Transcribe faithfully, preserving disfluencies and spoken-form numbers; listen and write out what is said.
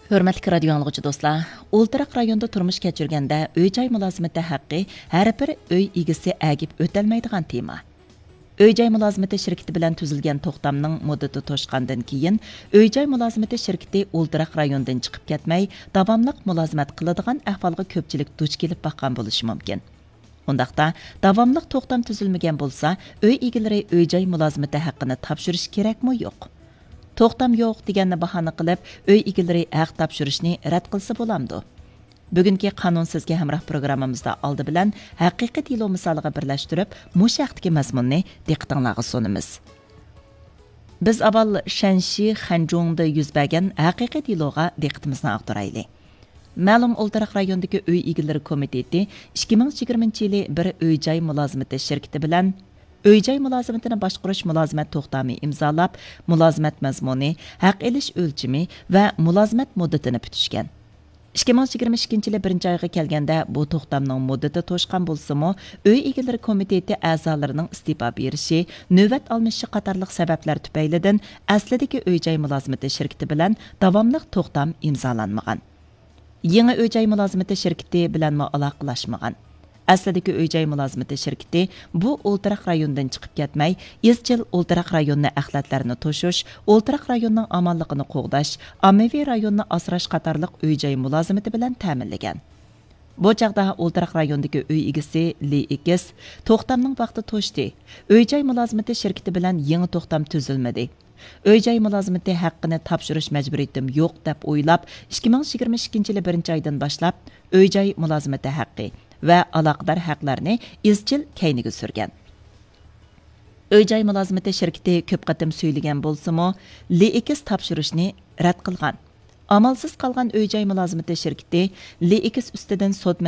ھۆرمەتلىك رادىيو ئاڭلىغۇچى دوستلار، ئولتۇراق رايوندا تۇرمۇش كەچۈرگەندە ئۆي-جاي مۇلازىمىتى ھەققى ھەر بىر ئۆي ئىگىسى ئەگىپ ئۆتەلمەيدىغان تېما. ئۆي-جاي مۇلازىمىتى شىركىتى بىلەن تۈزۈلگەن توختامنىڭ مۇددىتى توشقاندىن كېيىن، ئۆي-جاي مۇلازىمىتى شىركىتى ئولتۇراق رايوندىن چىقىپ كەتمەي، داۋاملىق مۇلازىمەت قىلىدىغان ئەھۋالغا كۆپچىلىك دۇچ كېلىپ باققان بولۇشى مۇمكىن. ئۇنداقتا، داۋاملىق توختام تۈزۈلمىگەن بولسا، ئۆي ئىگىلىرى ئۆي-جاي مۇلازىمىتى ھەققىنى تاپشۇرۇش كېرەكمۇ يوق؟ توختام يوق دېگەننى باھانە قىلىپ، ئۆي ئىگىلىرى ھەق تاپشۇرۇشنى رەت قىلسا بولامدۇ؟ بۈگۈنكى قانۇن سىزگە ھەمراھ پروگراممىمىزدا ئالدى بىلەن ھەقىقىي دېلو مىسالىغا بىرلەشتۈرۈپ، مۇشۇ ھەقتىكى مەزمۇننى دىققىتىڭلارغا سۇنىمىز. بىز ئاۋۋال شەنشى خەنجۇڭدا يۈز بەرگەن ھەقىقىي دېلوغا دىققىتىمىزنى ئاغدۇرايلى. مەلۇم ئولتۇراق رايوندىكى ئۆي ئىگىلىرى كومىتېتى ئىككى مىڭ يىگىرمىنچى يىلى بىر ئۆي-جاي مۇلازىمىتى شىركىتى بىلەن ئۆي-جاي مۇلازىمىتىنى باشقۇرۇش مۇلازىمەت توختامى ئىمزالاپ، مۇلازىمەت مەزمۇنى، ھەق ئېلىش ئۆلچىمى ۋە مۇلازىمەت مۇددىتىنى پۈتۈشكەن. ئىككى مىڭ يىگىرمە ئىككىنچى يىلى بىرىنچى ئايغا كەلگەندە، بۇ توختامنىڭ مۇددىتى توشقان بولسىمۇ، ئۆي ئىگىلىرى كومىتېتى ئەزالىرىنىڭ ئىستېپا بېرىشى، نۆۋەت ئالمىشىشى قاتارلىق سەۋەبلەر تۈپەيلىدىن ئەسلىدىكى ئۆي-جاي مۇلازىمىتى شىركىتى بىلەن داۋاملىق توختام ئىمزالانمىغان. يېڭى ئۆي-جاي مۇلازىمىتى شىركىتى بىلەنمۇ ئالاقىلاشمىغان. ئەسلىدىكى ئۆي-جاي مۇلازىمىتى شىركىتى بۇ ئولتۇراق رايوندىن چىقىپ كەتمەي، ئىزچىل ئولتۇراق رايوننى ئەخلەتلەرنى توشۇش، ئولتۇراق رايوننىڭ ئامانلىقىنى قوغداش، ئاممىۋى رايوننى ئاسراش قاتارلىق ئۆي-جاي مۇلازىمىتى بىلەن تەمىنلىگەن. بۇ چاغدا ئولتۇراق رايوندىكى ئۆي ئىگىسى لى ئېكس توختامنىڭ ۋاقتى توشتى، ئۆي-جاي مۇلازىمىتى شىركىتى بىلەن يېڭى توختام تۈزۈلمىدى. ئۆي-جاي مۇلازىمىتى ھەققىنى تاپشۇرۇش مەجبۇرىيىتىم يوق، دەپ ئويلاپ، ئىككى مىڭ يىگىرمە ئىككىنچى يىلى بىرىنچى ئايدىن باشلاپ، ئۆي-جاي مۇلازىمىتى ھەققى ۋە ئالاقىدار ھەقلەرنى ئىزچىل كەينىگە سۈرگەن. ئۆي-جاي مۇلازىمىتى شىركىتى كۆپ قېتىم سۈيلىگەن بولسىمۇ، لى ئېكس تاپشۇرۇشنى رەت قىلغان. ئامالسىز قالغان ئۆي-جاي مۇلازىمىتى شىركىتى لى ئېكس ئۈستىدىن سوت